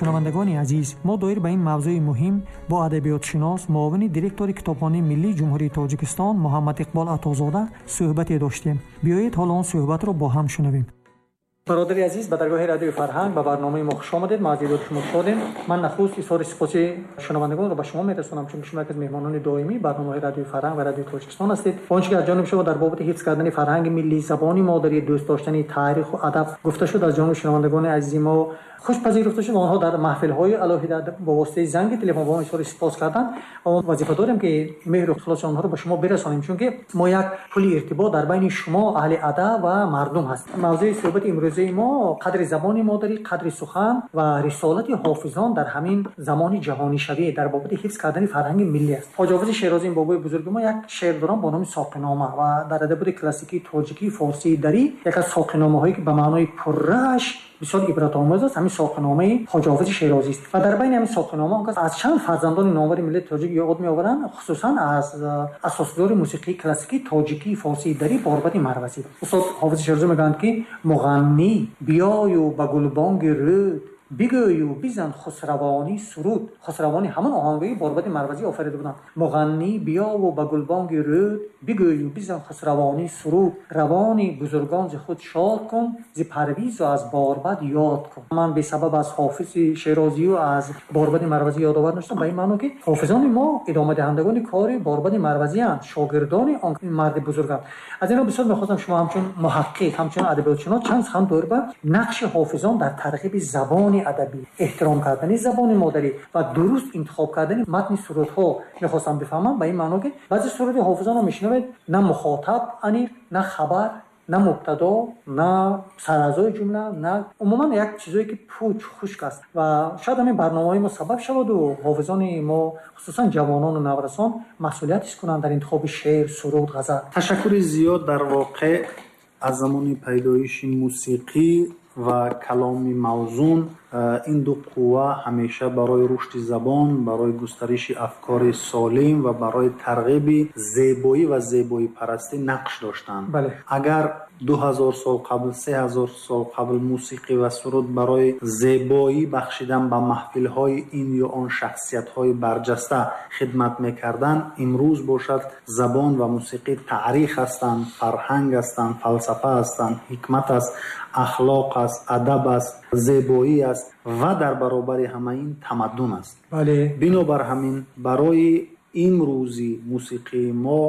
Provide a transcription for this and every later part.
Шунавандагони азиз, мо доир ба ин мавзӯи муҳим бо адабиётшинос, муовини директори Китобхонаи миллии Ҷумҳурии Тоҷикистон Муҳаммад Иқбол Атозода суҳбате доштем. Биёед, ҳоло он суҳбатро бо ҳам шунавем. Бародари азиз, ба даргоҳи Радиои Фарҳанг, ба барномаи мо хуш омадед. Мо аз дидори шумо шодем. Ман нахуст изҳори сипоси шунавандагонро ба шумо мерасонам, чунки шумо яке аз меҳмонони доимии барномаҳои Радиои Фарҳанг ва Радиои Тоҷикистон ҳастед. Он чӣ ки аз ҷониби шумо дар бобати ҳифз кардани фарҳанги миллӣ, забони модарӣ, дӯст доштани таъриху адаб гуфта шуд, аз ҷониби шунавандагони азизи мо хуш пазируфта шуд ва онҳо дар маҳфилҳои алоҳида бо воситаи занги телефон ба мо изҳори сипос карданд ва мо вазифа дорем, ки меҳру ихлоси онҳоро ба шумо бирасонем, чунки мо як пули иртибот дар байни шумо, аҳли адаб, ва мардум ҳаст. Мавзӯи суҳбати имрӯзаи мо қадри забони модарӣ, қадри сухан ва рисолати ҳофизон дар ҳамин замони ҷаҳонишавӣ дар бобати ҳифз кардани фарҳанги миллӣ аст. Хоҷа Ҳофизи Шерозӣ, ин бобои бузурги мо, як шеър дорам бо номи Соқинома ва дар адабиёти классикии тоҷикӣ, форсии, дарӣ яке аз соқиномаҳое, ки ба маънои пуррааш бисёр ибратомӯз аст, ҳамин Соқиномаи Хоҷа Ҳофизи Шерозӣ аст. Ва дар байни ҳамин соқинома он кас аз чанд фарзандони номвари миллати тоҷик ёд меоваранд, хусусан аз асосгузори мусиқии классикии тоҷикии, форсии, дарӣ Борбади Марвазӣ. Устод Ҳофизи Шерозӣ мегӯянд, ки муғаннӣ биёю ба гулбонги рӯд, бигӯю бизан хусравонӣ суруд. Хусравонӣ ҳамон оҳангои Борбади Марвазӣ офарида буданд. Муғаннӣ биёву ба гулбонги рӯд, бигӯю бизан хусравонӣ суруд, равони бузургон зи худ шод кун, зи Парвизу аз Борбад ёд кун. Ман бесабаб аз Ҳофизи Шерозию аз Борбади Марвазӣ ёдовар нашудам, ба ин маъно, ки ҳофизони мо идомадиҳандагони кори Борбади Марвазианд, шогирдони он марди бузурганд. Аз ино бисёр мехостам шумо ҳамчун муҳаққиқ, ҳамчун адабиётшинос чанд сухан доир ба нақши ҳофизон дар тарғиби забони адабӣ, эҳтиром кардани забони модарӣ ва дуруст интихоб кардани матни сурудҳо мехостам бифаҳмам, ба ин маъно, ки баъзе суруди ҳофизонро мешунавед, на мухотаб аниқ, на хабар, на мубтадо, на сараъзои ҷумла, на умуман як чизое, ки пуч, хушк аст. Ва шояд ҳамин барномаҳои мо сабаб шаваду ҳофизони мо, хусусан ҷавонону наврасон, масъулият ҳис кунанд дар интихоби шеър, суруд, ғазал. Ташаккури зиёд. Дар воқеъ, аз замони пайдоиши мусиқӣ ва каломи мавзун ин ду қувва ҳамеша барои рушди забон, барои густариши афкори солим ва барои тарғиби зебоӣ ва зебоипарастӣ нақш доштанд. Агар 2000 сол қабл, 3000 сол қабл мусиқӣ ва суруд барои зебоӣ бахшидан ба маҳфилҳои ин ё он шахсиятҳои барҷаста хидмат мекарданд, имрӯз бошад, забон ва мусиқӣ таърих ҳастанд, фарҳанг ҳастанд, фалсафа ҳастанд, ҳикмат аст, ахлоқ аст, адаб аст, зебоӣ аст ва дар баробари ҳама ин тамаддун аст. Бинобар ҳамин, барои имрӯзи мусиқии мо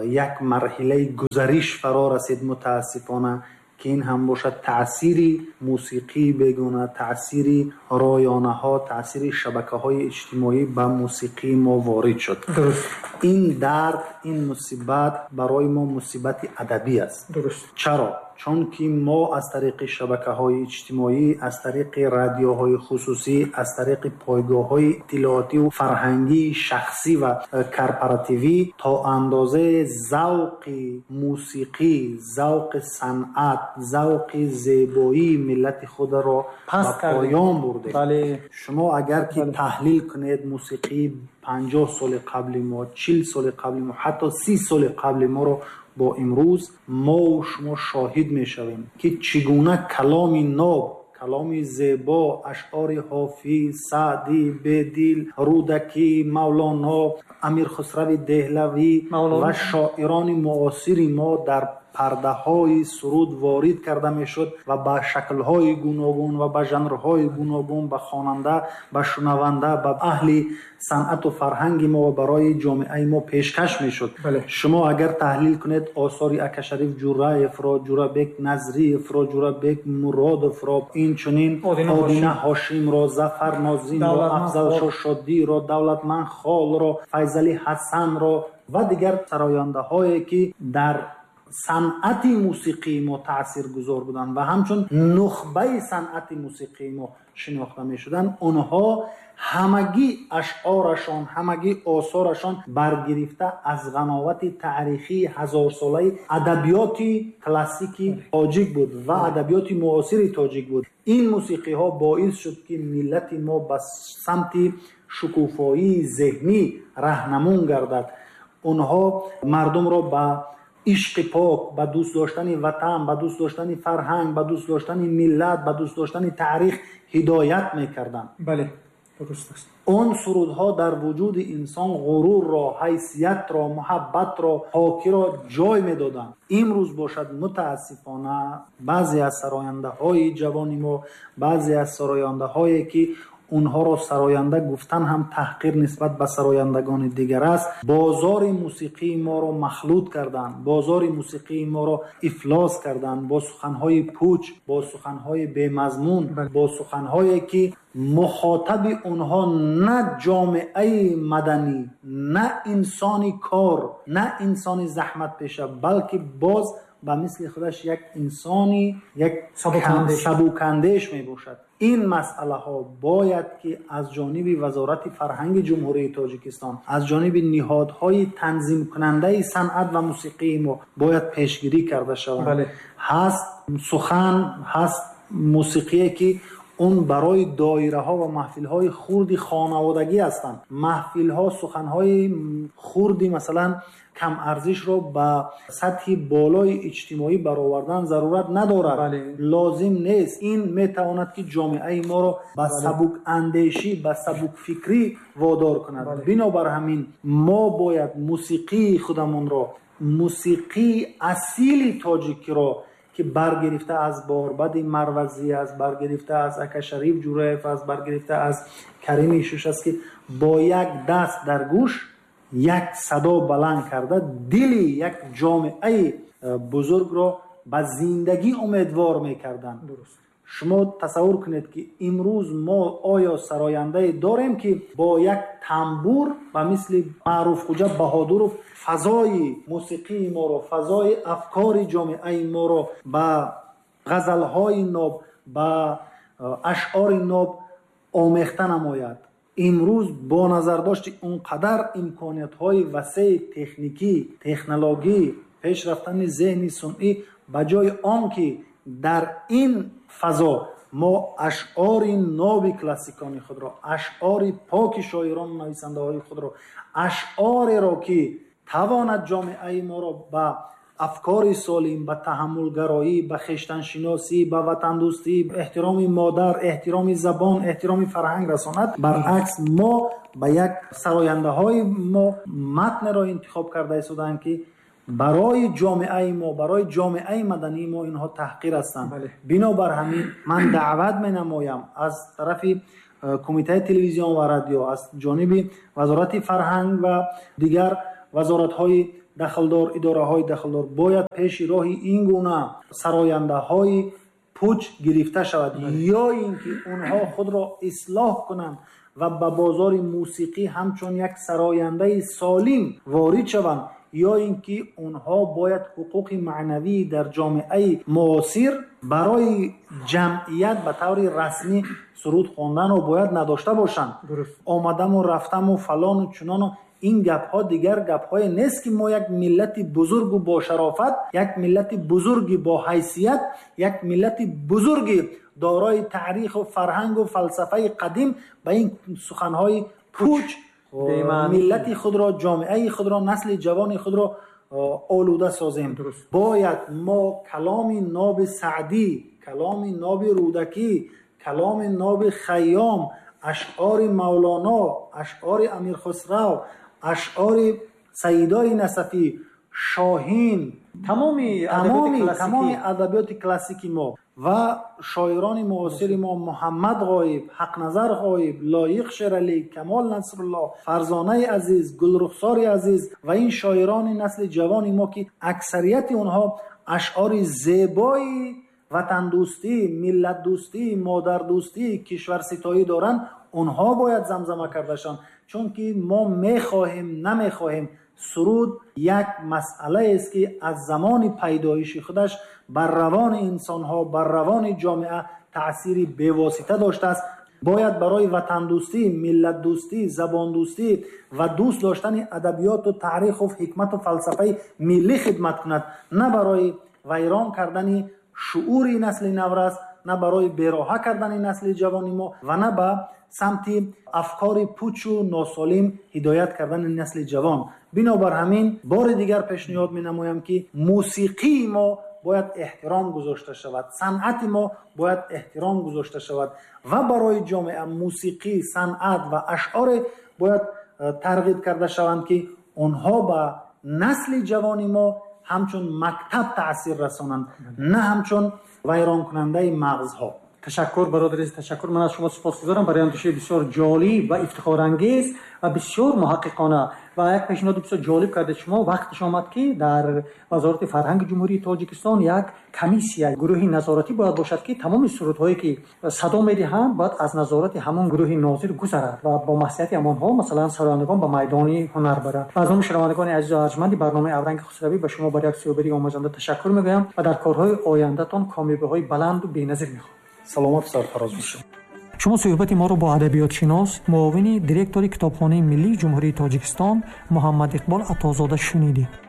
як марҳилаи гузариш фаро расид, мутаассифона, ки ин ҳам бошад таъсири мусиқии бегона, таъсири ройонаҳо, таъсири шабакаҳои иҷтимоӣ ба мусиқии мо ворид шуд. Ин дард, ин мусибат барои мо мусибати адабӣ аст. Чаро? Чунки мо аз тариқи шабакаҳои иҷтимоӣ, аз тариқи радиоҳои хусусӣ, аз тариқи пойгоҳҳои иттилоотиву фарҳангии шахсӣ ва корпоративӣ то андозаи завқи мусиқӣ, завқи санъат, завқи зебоии миллати худро ба поён бурдем. Шумо агар ки таҳлил кунед мусиқии 50 соли қабли мо, 40 соли қабли мо, ҳатто 30 соли қабли моро бо имрӯз, мову шумо шоҳид мешавем, ки чӣ гуна каломи ноб, каломи зебо, ашъори Ҳофиз, Саъдӣ, Бедил, Рӯдакӣ, Мавлоно, Амирхусрави Деҳлавӣ ва шоирони муосири мо дар пардаҳои суруд ворид карда мешуд ва ба шаклҳои гуногун ва ба жанрҳои гуногун ба хонанда, ба шунаванда, ба аҳли санъату фарҳанги мо ва барои ҷомеаи мо пешкаш мешуд. Шумо агар таҳлил кунед осори Акашариф Ҷураевро, Ҷурабек Назриевро, Ҷурабек Муродовро, инчунин Одина Ҳошимро, Зафар Нозимро, Афзалшо Шодиро, Давлатманд Холро, Файзали Ҳасанро ва дигар сарояндаҳое, ки дар санъати мусиқии мо таъсиргузор буданд ва ҳамчун нухбаи санъати мусиқии мо шинохта мешуданд, онҳо ҳамагӣ ашъорашон, ҳамагӣ осорашон баргирифта аз ғановати таърихии ҳазорсолаи адабиёти классики тоҷик буд ва адабиёти муосири тоҷик буд. Ин мусиқиҳо боис шуд, ки миллати мо ба самти шукуфоии зеҳнӣ раҳнамун гардад. Онҳо мардумро ба ишқи пок, ба дӯст доштани ватан, ба дӯст доштани фарҳанг, ба дӯст доштани миллат, ба дӯст доштани таърих ҳидоят мекарданд. Бале, дуруст аст. Он сурудҳо дар вуҷуди инсон ғурурро, ҳайсиятро, муҳаббатро, покиро ҷой медоданд. Имрӯз бошад, мутаассифона баъзе аз сарояндаҳои ҷавони мо, баъзе аз сарояндаҳое ки онҳоро сароянда гуфтан ҳам таҳқир нисбат ба сарояндагони дигар аст, бозори мусиқии моро махлут карданд, бозори мусиқии моро ифлос карданд бо суханҳои пуч, бо суханҳои бемазмун, бо суханҳое ки мухотаби онҳо на ҷомеаи маданӣ, на инсони кор, на инсони заҳматпеша, балки боз ба мисли худаш як инсони як сабукандеш мебошад. Ин масъалаҳо бояд ки аз ҷониби Вазорати фарҳанги Ҷумҳурии Тоҷикистон, аз ҷониби ниҳодҳои танзимкунандаи санъат ва мусиқии мо бояд пешгирӣ карда шаванд. Ҳаст сухан, ҳаст мусиқие ки он барои доираҳо ва маҳфилҳои хурди хонаводагӣ ҳастанд. Маҳфилҳо суханҳои хурди масалан кам арзишро ба сатҳи болои иҷтимоӣ баровардан зарурат надорад, лозим нест. Ин метавонад ки ҷомеаи моро ба сабукандешӣ, ба сабукфикрӣ водор кунад. Бинобар ҳамин мо бояд мусиқии худамонро, мусиқии асили тоҷикиро ки баргирифта аз Борбади Марвазӣ аст, баргирифта аз Ака Шариф Ҷураев аст, баргирифта аз Карими Шуш аст, ки бо як даст дар гӯш як садо баланд карда дили як ҷомеаи бузургро ба зиндагӣ умедвор мекарданд. Шумо тасаввур кунед ки имрӯз мо оё сарояндае дорем ки бо як тамбур ба мисли Маъруфхӯҷа Баҳодуров фазои мусиқии моро, фазои афкори ҷомеаи моро ба ғазалҳои ноб, ба ашъори ноб омехта намояд? Имрӯз бо назардошти он қадар имкониятҳои васеи техникӣ, технологӣ, пеш рафтани зеҳни сунъӣ, ба ҷои он ки дар ин фазо мо ашъори ноби классикони худро, ашъори поки шоирону нависандаҳои худро, ашъореро ки тавонад ҷомеаи моро ба афкори солим, ба таҳаммулгароӣ, ба хештаншиносӣ, ба ватандӯстӣ, эҳтироми модар, эҳтироми забон, эҳтироми фарҳанг расонад, баръакс мо ба як сарояндаҳои мо матнеро интихоб карда истодаанд ки барои ҷомеаи мо, барои ҷомеаи мадании мо инҳо таҳқир ҳастанд. Бинобар ҳамин ман даъват менамоям аз тарафи Кумитаи телевизион ва радио, аз ҷониби Вазорати фарҳанг ва дигар вазоратҳои дахлдор, идораҳои дахлдор, бояд пеши роҳи ин гуна сарояндаҳои пуч гирифта шавад, ё ин ки онҳо худро ислоҳ кунанд ва ба бозори мусиқӣ ҳамчун як сарояндаи солим ворид шаванд, ё ин ки онҳо бояд ҳуқуқи маънавӣ дар ҷомеаи муосир барои ҷамъият ба таври расмӣ суруд хонданро бояд надошта бошанд. Омадаму рафтаму фалону чунону ин гапҳо дигар гапҳое нест ки мо як миллати бузургу бошарофат, як миллати бузурги бо ҳайсият, як миллати бузурги дорои таъриху фарҳангу фалсафаи қадим ба ин суханҳои пуч миллати худро, ҷомеаи худро, насли ҷавони худро олуда созем. Бояд мо каломи ноби Саъдӣ, каломи ноби Рӯдакӣ, каломи ноби Хайём, ашъори Мавлоно, ашъори Амирхусрав, ашъори Саидои Насафӣ, Шоҳин, тамоми адабиёти классики мо ва шоирони муосири мо Муҳаммад Ғоиб, Ҳақназар Ғоиб, Лоиқ Шералӣ, Камол Насруллоҳ, Фарзонаи Азиз, Гулрухсори Азиз ва ин шоирони насли ҷавони мо ки аксарияти онҳо ашъори зебои ватандӯстӣ, миллатдӯстӣ, модардӯстӣ, кишварситоӣ доранд, онҳо бояд замзама карда шаванд. Чунки мо мехоҳем, намехоҳем, суруд як масъалаест ки аз замони пайдоиши худаш бар равони инсонҳо, бар равони ҷомеа таъсири бевосита доштааст. Бояд барои ватандӯстӣ, миллатдӯстӣ, забондӯстӣ ва дӯст доштани адабиёту таъриху ҳикмату фалсафаи миллӣ хидмат кунад, на барои вайрон кардани шуури насли наврас, на барои бероҳа кардани насли ҷавони мо ва на ба самти афкори пучу носолим ҳидоят кардани насли ҷавон. Бинобар ҳамин бори дигар пешниҳод менамоям, ки мусиқии мо бояд эҳтиром гузошта шавад, санъати мо бояд эҳтиром гузошта шавад ва барои ҷомеа мусиқӣ, санъат ва ашъоре бояд тарғиб карда шаванд, ки онҳо ба насли ҷавони мо ҳамчун мактаб таъсир расонанд, на ҳамчун вайронкунандаи мағзҳо. Ташаккур, бародари азиз, ташаккур. Ман аз шумо сипосгузорам барои андешаи бисёр ҷолиб ва ифтихорангез ва бисёр муҳаққиқона ва як пешниҳоди бисёр ҷолиб кардед шумо. Вақташ омад, ки дар Вазорати фарҳанги Ҷумҳурии Тоҷикистон як комиссия, гурӯҳи назоратӣ бояд бошад, ки тамоми сурудҳое ки садо медиҳанд, бояд аз назорати ҳамон гурӯҳи нозир гузарад ва бо маслиҳати ҳамонҳо, масалан, сарояндагон ба майдони ҳунар баранд. Ва аз номи шунавандагони азизу арҷманди барномаи Авранги Хусравӣ ба шумо барои як суҳбати омӯзанда ташаккур мегӯям ва дар корҳои ояндатон комёбиҳои баланду беназир мехоҳам. Саломат, сарфароз бошед. Шумо суҳбати моро бо адабиётшинос, муовини директори Китобхонаи миллии Ҷумҳурии Тоҷикистон Муҳаммад Иқбол Атозода шунидед.